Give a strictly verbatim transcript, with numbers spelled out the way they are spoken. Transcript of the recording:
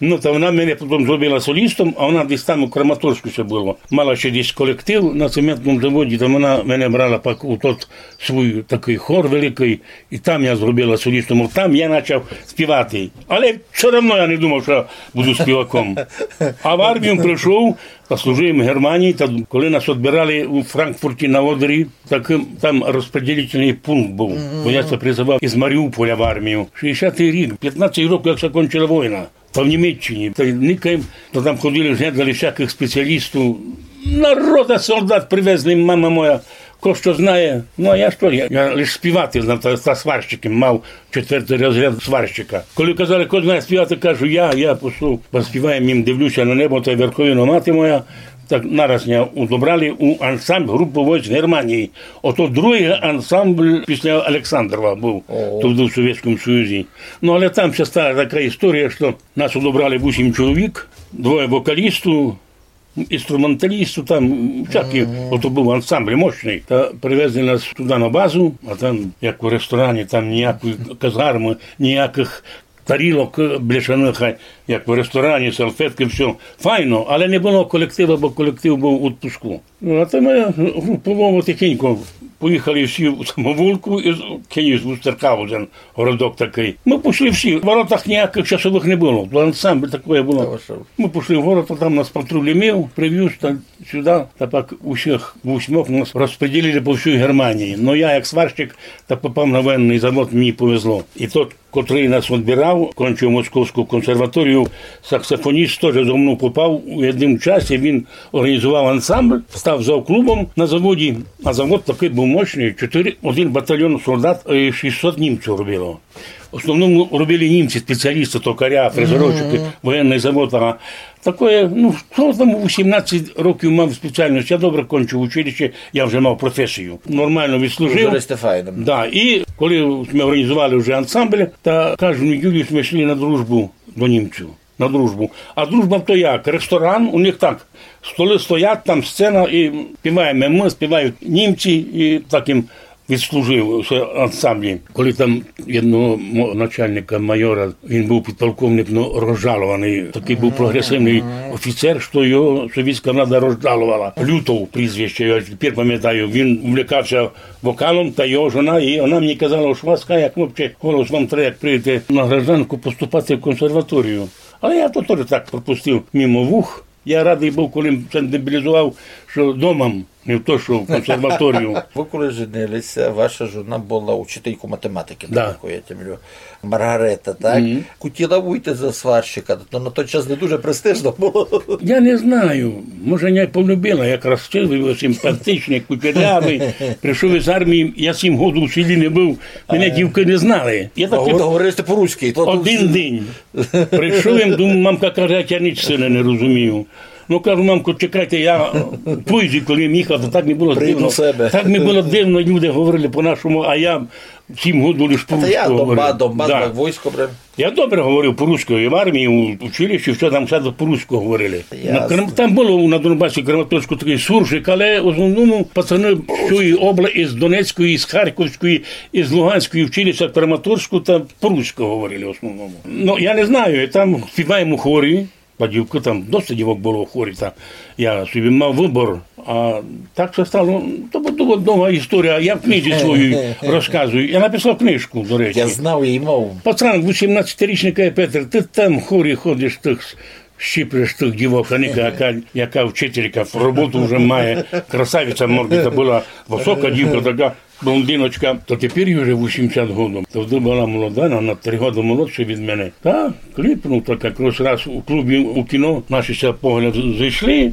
Ну, та вона мене потім зробила солістом, а вона десь там у Краматорську ще була. Мала ще десь колектив на цементному заводі, та вона мене брала пак у тот свій такий хор великий, і там я зробила солістом. От там я почав співати. Але все одно я не думав, що я буду співаком. А в армію прийшов, та служив в Германії, та коли нас відбирали у Франкфурті на Одері, так там розподілительний пункт був, бо я ся призивав із Маріуполя в армію. Шістдесятий рік, пятнадцять років, як закінчила війна. Та в Німеччині, та й никаєм, то там ходили, глядали всяких спеціалістів. Народа солдат привезли, мама моя, ко што знає. Ну, а я што, я, я лиш співати знав, та, та сварщиком мав четвертий розряд сварщика. Коли казали, ко знає співати, кажу, я, я пішов, поспіваєм їм, дивлюся на небо, та й Верховина мати моя. Так нараз мене удобрали у ансамбль групу войск Германії. Ото другий ансамбль після Олександрова був, то був в Совєтському Союзі. Ну, але там ще стала така історія, що нас удобрали вісім чоловік, двоє вокалістів, інструменталістів, там всякі, ото був ансамбль мощний. Та привезли нас туди на базу, а там, як у ресторані, там ніякої казарми, ніяких тарілок, е, бляшаних, а як в ресторані, салфетки, все. Файно, але не було колективу, бо колектив був у відпуску. Ну, а то ми групово тихенько поїхали всі в самоволку, і з-, Кенігсвустерхаузен, городок такий. Ми пішли всі, в воротах ніяких часових не було, то ансамбль такий був. Ми пішли в город, а там нас патруль імів, привіз та сюди, та пак усіх вісьмох нас розподілили по всій Германії. Ну, я як сварщик, та попав на воєнний завод, мені повезло. І тот, котрий нас відбирав, кончив Московську консерваторію, саксофоніст, теж зо мною попав у єдному часі, він організував ансамбль, став завклубом на заводі, а завод такий був мощний, чотири, один батальйон солдат і шістсот німців робило. В основному робили німці, спеціалісти, токаря, фрезерувщики, воєнний завод, а такоє, ну, хто там у вісімнадцять років мав спеціальність, я добре кончив училище, я вже мав професію. Нормально відслужив. Уже файно. Да, і коли ми організували вже ансамбль, та кожну неділю ми йшли на дружбу до німців. На дружбу. А дружба то як? Ресторан, у них так. Столи стоять, там сцена, і співаємо ми, співають німці, і так їм відслужив у ансамблі. Коли там єдного мо-, начальника майора, він був підполковник, ну, розжалований, такий був прогресивний офіцер, що його совєтська влада розжаловала. Лютов прізвище, я тепер пам'ятаю, він увлікався вокалом, та його жона, і вона мені казала, що вас, як хлопче, голос вам треба, як прийдете на гражданку, поступати в консерваторію. Але я то теж так пропустив мимо вух. Я радий був, коли м-, ся демобілізував, що дома, не в то, що в консерваторію. Ви коли женилися, ваша жона була учителькою математики, да, наскільки я тямлю. Маргарета, так? Мгм. Хотіла вийти за сварщика, то на той час не дуже престижно було. Я не знаю, може, мене полюбила, я красивий, симпатичний, кучерявий. Прийшов із армії, я сім годів у селі не був, мене дівки не знали. Я такий... Говорили сте по-руськи, то... Один день. Прийшов їм, думаю, мамка каже, я ніч, сине, не розумію. Ну, кажу, мамко, чекайте, я пізно, коли я їхав, то так мені було дивно. Прийду в себе. Так мені було дивно, люди говорили по-нашому, а я сім годів лиш по-руськи говорив. Та я дома, дома, да, так, військо прям. Я добре говорив по-руськи і в армії, у училищі, все там все по-руськи говорили. Ясно. На Крам-, там було на Донбасі, Краматорську, такий суржик, але в основному пацани з цієї обла-, із Донецької, із Харківської, із Луганської вчилися в Краматорську, там по-руськи говорили в основному. Ну, я не знаю, там співаємо у хорі, а дівки там, досить дівок було у хорі, та я собі мав вибір. А так се стало, то була довга історія, я в книзі своїй розказую. Я написав книжку, до речі. Я знав її мову. Пацан, вісімнадцятирічний, каже: «Петре, ти там в хорі ходиш, тих щиплеш тих дівок, а ніка, яка, яка вчителька, роботу вже має, красавиця мордита була, висока дівка така, блондиночка, то тепер їй вже вісімдесят годів. То вона була молода, вона на три годи молодша від мене. Та кліпнув так якраз раз у клубі, у кіно, наші ся погляд зійшли,